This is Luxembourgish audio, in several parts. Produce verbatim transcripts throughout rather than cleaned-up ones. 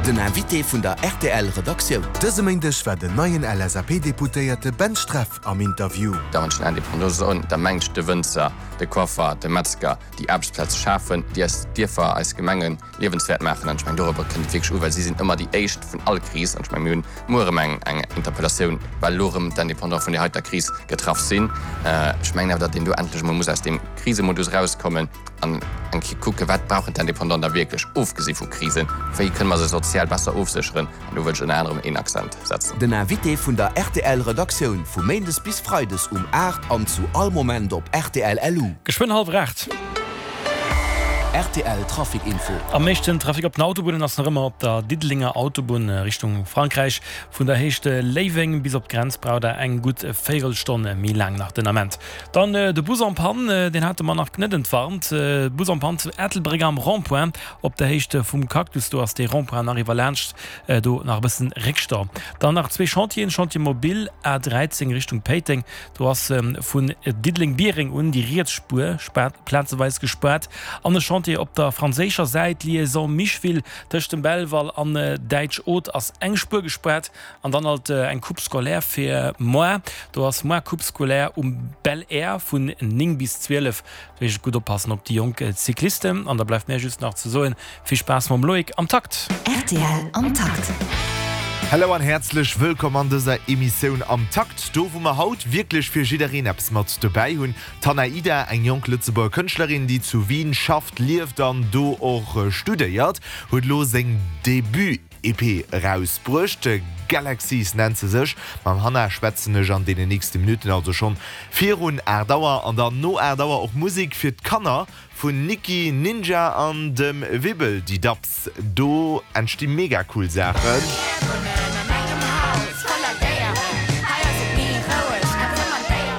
Den Invité vun der R T L Redaktioun. Dëse Méindeg war den neien L S A P-Deputéierte Ben Streff am Interview. Da wann ech den Indépendant soen, da mengen ech de Wënzer, de Coiffer, de Metzger, déi Aarbechtsplaze schafen, déi eis Dierfer, eis Gemengen liewenswäert maachen. An ech mengen, dorobber kënnt et wierklech u, well si sinn ëmmer déi éischt vun all Kris. An ech mengen, mir hunn muer erëm eng eng Interpellatioun, well elo erëm d'Indépendant vun där heiter Kris getraff sinn. Ech mengen awer, datt een do endlech emol muss aus deem Krisemodus erauskommen an eng Kéier kucken, wat brauchen d'Indépendant da wierklech, ofgesi vu Krisen, wéi kënne mer se sozial besser ofsécheren. An do wëll ech ënner anerem een Accent setzen. Den Invité vun der R T L Redaktioun vu Méindes bis Freides um aacht an zu all Moment op R T L L U. Geschwënn hallwer aacht. R T L Trafic Info. Am meeschten Trafic op den Autobunnen ass nach ëmmer op der Diddelenger Autobunn Richtung Frankräich. Vun der Héicht Léiweng bis op d'Grenz braucht der eng gutt Véierelstonn méi laang nach den Ament. Dann de Bus en panne, deen hate mer nach net entwarnt. Bus en panne zu Ettelbréck am Rond-point op der Héicht vum Cactus. Do ass dee Rond-point nach iwwer laanscht do nach e bëssen Réckstau. Dann nach zwee Chantieren, Chantier mobile A dräizéng Richtung Péiteng, do ass vun Diddeleng-Biereng un déi riets Spuer plazeweis gespaart an e Chantier op der franséischer Säit, Liaison Micheville, tëscht dem Belval an Däitsch Oth ass eng Spuer gespaart an dann alt eng Coupe scolaire fir moar, do ass moar Coupe scolaire um Belair vun néng bis zwielef. Do heescht et gutt oppassen op déi jonk Cyclisten an da bleift mär just nach ze soen, vill Spaass mam Loïc am Takt. R T L am Takt. Hello an häerzlech wëllkomm an dëser Emissioun Am Takt, do wou mer haut wierklech fir jiddereen eppes mat dobäi hunn. D'Hannah Ida, eng jonk Lëtzebuerger Kënschtlerin, déi zu Wien schafft, lieft an do och studéiert, huet elo seng Debut-E P erausbruecht. Galaxies nennt se sech. Mam Hannah schwätzen ech an deenen nächste Minutten, also schonn virun aacht Auer, an dann no aacht Auer och Musek fir d'Kanner vun Nikki Ninja an dem Wibbel di Dapps. Do entsti mega cool Saachen.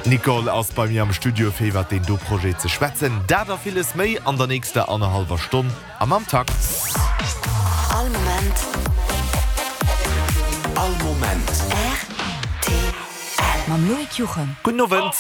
D'Nicole ass bei mir am Studio fir iwwer deen do Projet ze schwätzen. Dat a villes méi an der nächster annerhallwer Stonn am Am Takt. All Moment. All Moment. R T L. Mam Loïc Juchem. Gudden Owend.